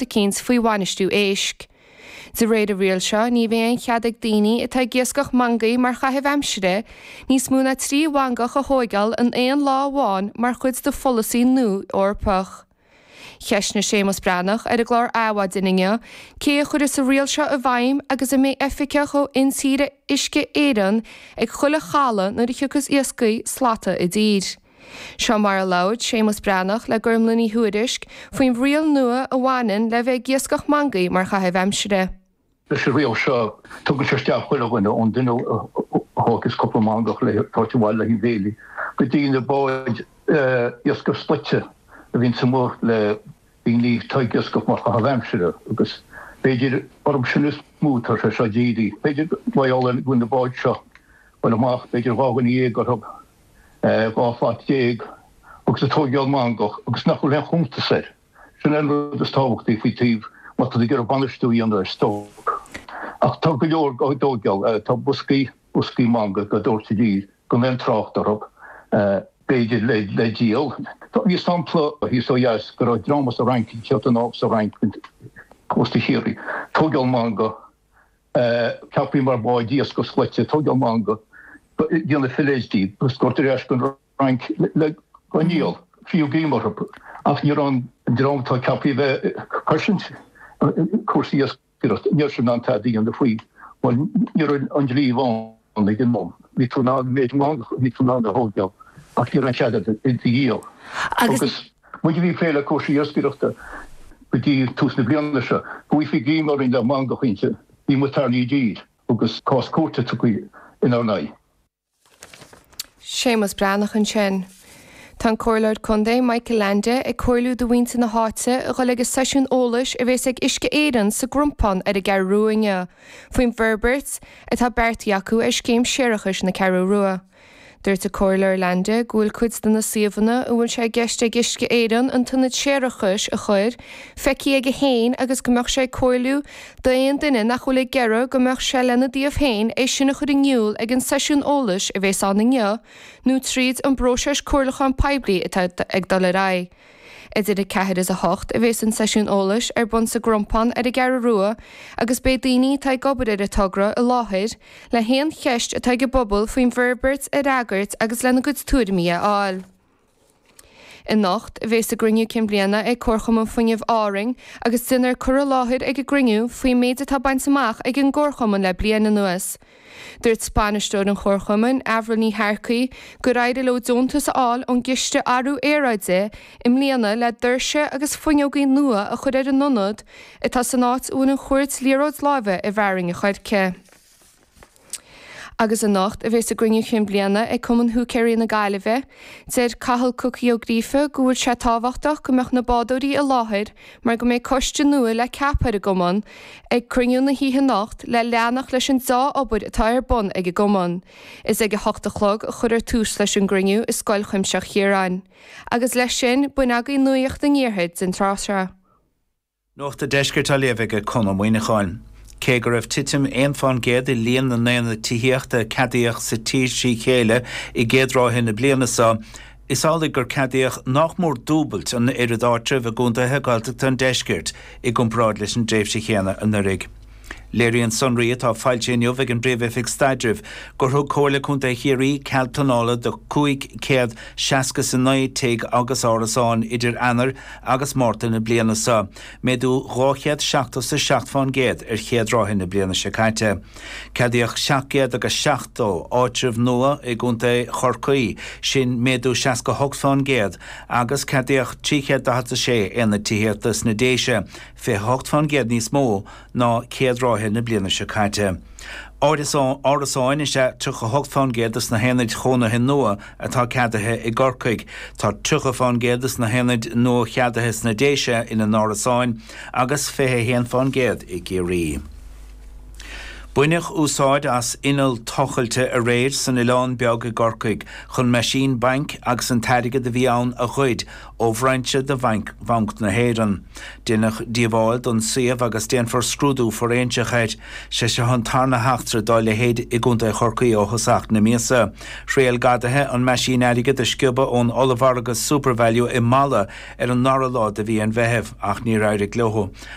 Eicínt faoi bhainistiú éisc. De réir an riail seo, ní bheidh aon chead ag daoine atá ag iascach mangaí mar chaitheamh aimsire níos mó ná 3 mhangach a thóigeáil in aon lá amháin mar chuid de pholasaí nua Eorpach. Cheistnigh Séamus Breathnach ar an gclár Adhmhaidin inniu cé a chuirfeas an riail seo i bhfeidhm agus an mbeidh oifigeach ó Intíre Uisce Éireann ag chuile chaladh nuair a thiocfas iascaigh slata i dtír. Seo mar a labhair Séamus Breathnach le Gormlaith Ní Thuairisg faoin riail nua a bhaineann le bheith ag iascach mangaí mar chaitheamh aimsire. Leis an riail seo, tugann sé isteach chuile dhuine, ón duine a thógfas cúpla mangach le tabhairt abhaile le haghaidh béilí, go dtí na báid iascaigh slaite a bhíonns amuigh le daoine atá ag iascach mar chaitheamh aimsire agus b'fhéidir orthu sin is mó atá sé seo dírithe. B'fhéidir mar gheall ar go bhfuil na báid seo ag dul amach, b'fhéidir 12 dhuine orthu. 12 shlat agus ag tóigeáil mangach agus nach bhfuil aon chuntas air. Sin é an rud is tábhachtaí faoi taobh má tá tú ag iarraidh bainistiú a dhéanamh ar stoc. Ach tá go leor á dtóigeáil, tá boscaí, boscaí mangaigh á dtabhairt i dtír gan aon trácht orthu, b'fhéidir le díol. Bhí sampla thíos ó dheas go raibh dream as an Fhrainc, ag teacht anall as an Fhrainc, cósta Chiarraí, tóigeáil mangach, ceaptha mar bháid iascaigh slaite, tóigeáil mangach, déanamh fillets díobh agus tabhairt ar ais go an Fhrainc le go ndíol, fiú greim orthu. Ach ní raibh an dream atá ceaptha a bheith ag cosaint cúrsaí iascaireachta, ní raibh siad in ann tada a dhéanamh faoi mar ní raibh an dlí ann ag an am. Bhí tú in ann an méid mangach a bhí tú in ann a thóigeáil ach ní raibh aon chead agat iad a dhíol. Agus muid a bhí ag plé le cúrsaí iascaireachta go dtí tús na bliana seo, go bhfaighfí greim orainn le mangach inti, bhí muid tarraingthe i dtír agus cás cúirte tugtha inár n-aghaidh. Séamus Breathnach ansin. Tá an Comhairleoir Contae Michael Leainde ag comhairliú do mhuintir na háite a dhul ag an seisiún eolais a bhéas ag Uisce Éireann sa gCrompán ar an gCeathrú Rua inniu faoin bhforbairt atá beartaithe acu ar scéim séarachais na Ceathrú Rua. Dúirt an Comhairleoir Leainde go bhfuil cuid de na suíomhanna a bhfuil sé i gceist ag Uisce Éireann an t-ionad séarachais a chur, feicthe aige féin agus go mbeadh sé ag comhairliú d'aon duine nach bhfuil ag iarraidh go mbeadh sé lena dtaobh féin é sin a chur in iúl ag an seisiún eolais a bhéas ann inniu nó tríd an bpróiseas comhairliúcháin poiblí atá ag dul ar aghaidh. Idir 4 is 8 a bhéas an seisiún eolais ar bun sa gCrompán ar an gCeathrú Rua agus beidh daoine atá ag obair ar an togra i láthair le haon cheist atá ag an bpobal faoin bhforbairt a fhreagairt agus lena gcuid tuairimí a fháil. Anocht a bhéas a gcruinniú cinn bliana ag Comharchumann Fuinnimh Árainn agus déanfar cur i láthair ag an gcruinniú faoin méid atá bainte amach ag an gComharchumann le bliain anuas. Dúirt bainisteoir an Chomharchumainn, Avril Ní Shearcaigh, gur éirigh leo deontas a fháil ón gCiste Athrú Aeráide i mbliana le doirse agus fuinneogaí nua a chur ar an ionad atá san áit a bhfuil an chúirt liathróid láimhe i bhFearainn an Choirce. Agus anocht a bhéas a gcruinniú chinn bliana ag Cumann Húicéirí na Gaillimhe. Deir Cathal Cookie Ó Gríofa go bhfuil sé tábhachtach go mbeadh na bádóirí i láthair mar go mbeidh coiste nua le ceapadh ar an gcumann ag cruinniú na hoíche anocht le leanacht leis an deá-obair atá ar bun ag an gcumann. Is ag 8 a chlog a chuirfear tús leis an gcruinniú i Scoil Chuimsitheach Chiaráin. Agus leis sin, b'in agaibh Nuacht an Iarthair den tráth seo. Nuacht an Deiscirt á léamh ag Conn Ó Muíneacháin. Cé go raibh titim 1 fán gcéad i líon na n-aonad tithíochta a ceadaíodh sa tír trí chéile i gcéad ráithe na bliana seo, is amhlaidh gur ceadaíodh nách mór dúbailt an oiread áitreabh i gcontaetha Gaeltachta an deiscirt i gcomparáid leis an dtréimhse chéanna anuraidh. Léiríonn sonraí atá foilsithe inniu ag an bPríomh-Oifig Staidrimh gur thug Comhairle Contae Chiarraí cead pleanála do 569 tigh agus árasán idir Eanáir agus Márta na bliana seo, méadú 277 fán gcéad ar chéad ráithe na bliana seo caite. Ceadaíodh 770 áitreabh nua i gContae Chorcaí, sin méadú 68 fán gcéad, agus ceadaíodh 346 aonad tithíochta sna Déise, 28 fán gcéad níos mó ná céad ráithe na bliana seo caite. Árasáin is ea 38 fán gcéad de na haonaid chónaithe nua atá ceadaithe i gCorcaigh. Tá 30 fán gcéad de na haonaid nua-cheadaithe sna Déise ina n-árasáin agus 21 fán gcéad i gCiarraí. Baineadh úsáid as inneall tochailte aréir san Oileán Beag i gCorcaigh chun meaisín bainc agus an t-airgead a bhí ann a ghoid ó bhrainse de Bhanc na hÉireann. Deineadh díobháil don suíomh agus déanfar scrúdú fóiréinseach air. Sé seo an tarna heachtra dá leithéid i gContae Chorcaí ó thosach na míosa. Thriail gadaithe an meaisín airgid a sciobadh ón ollmhargadh Supervalu i Mala ar an ndara lá de mhí an Mheithimh ach níor éirigh leo.